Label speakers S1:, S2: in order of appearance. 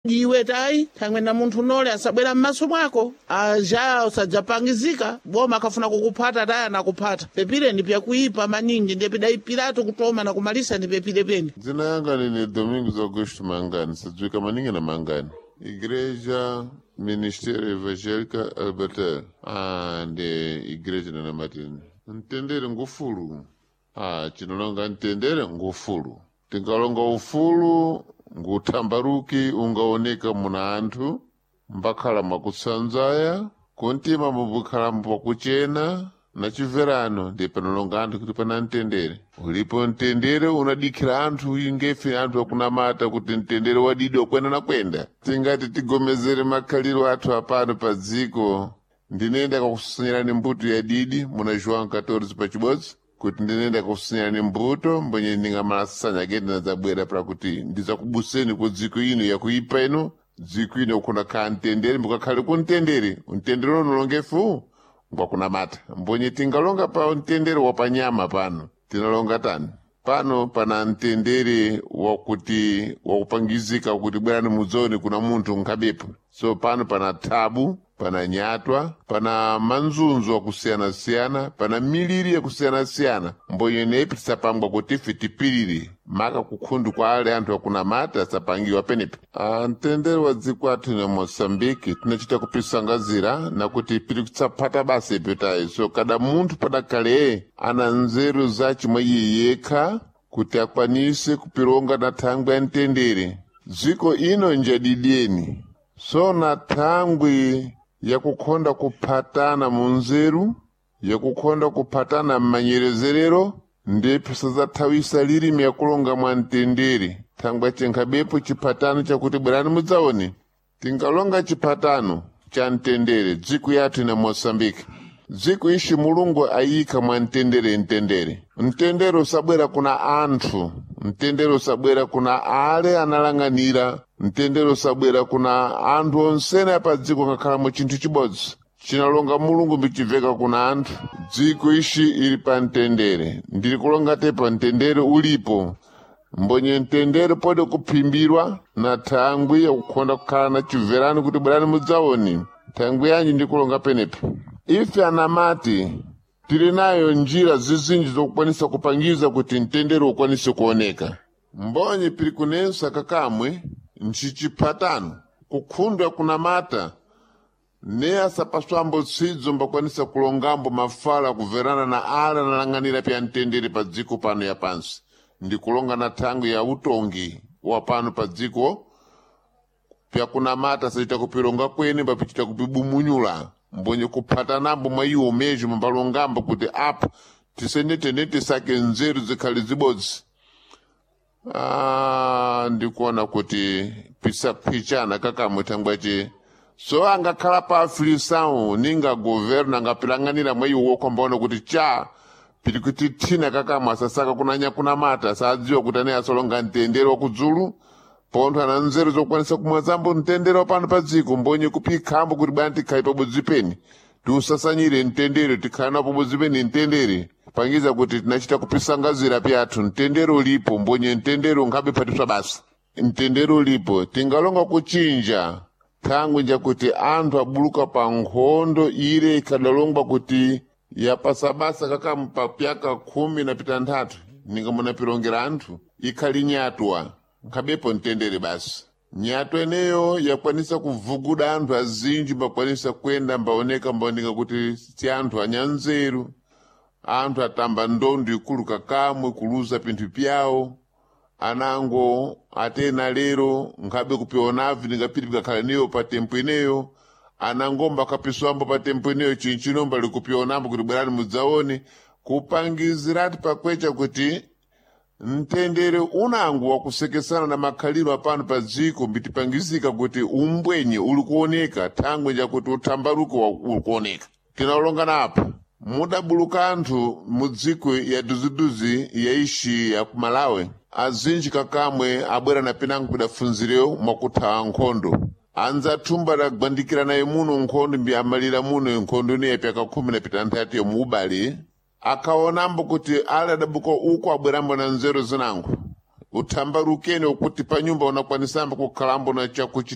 S1: Iwe tayi thangwe na munthu nole asabwera m'maso mwako aja usadzapangizika boma akafuna kukuphata tayi anakuphata pepire ni pyakuipa maningi ndiye pidayipiratu kutoma na kumalisa ni pepire pene.
S2: Dzina yanga nini Domingos Augusto Mangani, sadziwika maningi na Mangani. Igreja Ministério Evangélica Albertel. Ah, ndi igreja nana Martin. Mtendere ngufulu. Ah, chinolonga mtendere ngufulu. Tingalonga ufulu nguthambaruki ungaoneka muna anthu mbakhala mwakutsanzaya kuntima mubukhala pakuchena na chimverano ndi panolonga anthu kuti pana mtendere. Ulipo mtendere unadikhira anthu ingefe anthu akunamata kuti mtendere wadidi wakwenda na kwenda. Tingati tigomezere makhaliro athu apano pa dziko. Ndinenda kakusunyirani mbuto ya didi muna João 14 pachibodzi kuti ndinenda kakusunyirani mbuto mbonye ndingamalasanya kende nadzabwera pakuti ndidzakubuseni ku dziko ino yakuipa ino dziko ino kuna khala mtendere mbukakhale ku mtendere mtendere unolongefu ngwakunamata mbonye tingalonga pa mtendere wapanyama pano tinalonga tani pano pana mtendere wakuti wakupangizika kuti bwerani mudzoni kuna munthu nkhabepo so pano pana thabu pana nyatwa pana manzunzu akusiyana-siyana pana miliri yakusiyana-siyana mbonye nepi tisapangwa kuti ife tipirire maka kukhundu kwa ale anthu akunamata asapangiwa penepa. Ah, mtendere wa dziko athu na Moçambique tinachita kupisangazira nakuti piri kutsapata basa ipitayi so kada munthu padakale ana nzeru zace mwa iye yekha kuti akwanise kupironga na thangwi ya mtendere. Dziko ino njadidyeni so na thangwi yakukhonda kuphatana munzeru yakukhonda kuphatana m'manyerezerero ndipo sadzathawisa lilimi yakulonga mwa mtendere thangwi chenkhabepo chiphatano chakuti bwerani mudzaone. Tingalonga chiphatano cha mtendere dziko yathu ina Moçambique. Dziko ixi Mulungu ayikha mwa mtendere mtendere. Mtendere usabwera kuna anthu, mtendere usabwera kuna ale analang'anira, mtendere usabwera kuna anthu onsene apa dziko ngakhalamo chinthu chibodzi. Chinalonga Mulungu mbichibveka kuna anthu. Dziko ixi ili pa mtendere, ndili kulonga te pa mtendere ulipo. Mbonye mtendere pode kuphimbirwa na thangwi yakukhonda kukhala na chibverano kuti bwerani mudzaone. Thangwi yanji ndikulonga penepa. Ife anamati tili nayo njira zizinji zokukwanisa kupangiza kuti mtendere ukwanise kuoneka. Mbonye pili kunensa kakamwe nchichiphatano kukhundwa kunamata ne asapaswambo tsidzo mbakwanisa kulongambo mafala kuverana na ala analang'anira pya mtendere pa dziko pano ya pansi ndi kulonga na thangwi ya utongi wa pano pa dziko pyakunamata sachita kupilonga kwene papichita kupibumunyula mbonye kuphatanambo mwa iwo mezho mbalongambo kuti apa tisenetene tisake nzeru zikhale zibodzi. Ah, ndikuona kuti pisaphwichana kakamwe thangwace so angakhala pa afilisawu ninga governo angapilang'anira mwa iwo wokha kuti cha pili kuti thina kakamwe asasaka kunanya kunamata sadziwa kuti ane asolonga mtendere wakudzulu pontho ana nzeru zokwanisa kumwazambo mtendere wapano pa dziko mbonye kupikhambo kuti bwana tikhale pabodzi peni tiusasanyire mtendere tikhale napo pabodzi peni mtendere pangiza kuti tinachita kupisangazira pyathu mtendere ulipo mbonye mtendere unkhabe phatiswa basa mtendere ulipo tingalonga kuchinja thangwi njakuti anthu abuluka pa nkhondo ile ikadalongwa kuti yapasabasa kakampa pyaka 15 ninga munapilongera anthu ikhali nyatwa nkhabepo mtendere basi. Nyatwa eneyo yakwanisa kuvuguda anthu azinji mbakwanisa kwenda mbaoneka mbaoneka kuti si anthu anyanzeru anthu atamba ndondo ikulu kakamwe kuluza pinthu pyawo anango atena lero nkhabe kupionavi ningapiti pikakhala niyo pa tempo ineyo anangomba akapiswambo pa tempo ineyo chinchinomba likupionambo kuti bwerani mudzaone kupangizirati pakwecha kuti mtendere unango wakusekesana na makhaliro apano pa dziko mbitipangizika kuti umbwenye uli kuoneka thangwi njakuti uthambaruko uli kuoneka. Tinalongana apa mudabuluka anthu mu dziko ya duziduzi yaishi ya ku Malawi azinji kakamwe abwera na pinango pidafunzirewo mwakuthawa nkhondo anzathumba adagwandikira naye muno nkhondo mbi amalira muno nkhondo ineyi pyaka 16 yomu ubale akaonambo kuti ale adabuka uko abwerambo na nzeru zinango uthambarukeni ukuti pa nyumba unakwanisambo kukhalambo na chakuchita.